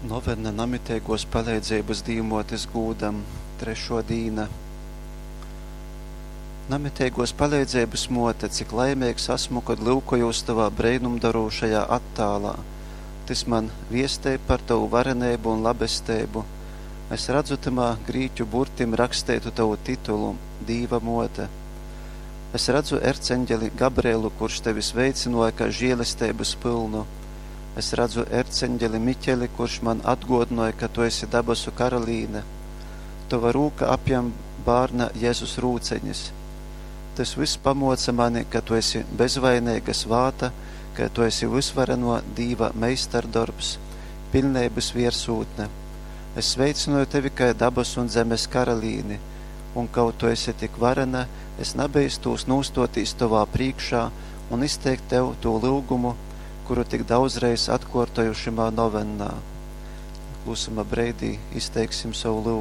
Novena Namiteiguos paleidzeibys Dīvmuotis gūdam. Trešuo dīna. Namiteiguos paleidzeibys Muote, cik laimeigs asmu, kod lyukojūs Tovā breinumdorūšajā attālā! Tys man viestej par Tovu vareneibu un labesteibu. Es radzu tymā grīķu burtim raksteitu Tovu titulu: Dīva Muote. Es radzu erceņgeli Gabrielu, kurš Tevi sveicynuoja kai žielesteibys pylnu. Es radzu erceņgeli Miķeli, kurš man atguodynoj, ka Tu esi dabasu karalīne. Tova rūka apjam bārna Jezus rūceņis. Tys vyss pamuoca mani, ka Tu esi bezvaineiga, svāta, ka Tu esi vysvarenuo Dīva meistardorbs, piļneibys viersūtne. Es sveicynoju Tevi kai dabasu un zemes karalīni, un kaut Tu esi tik varena, es nabeistūs nūstuotīs Tovā prīškā un izteikt Tev tū lyugumu, kuru tik daudzreiz atkuortoju šymā novennā. Klusuma breidī izteiksim sovu lyugumu.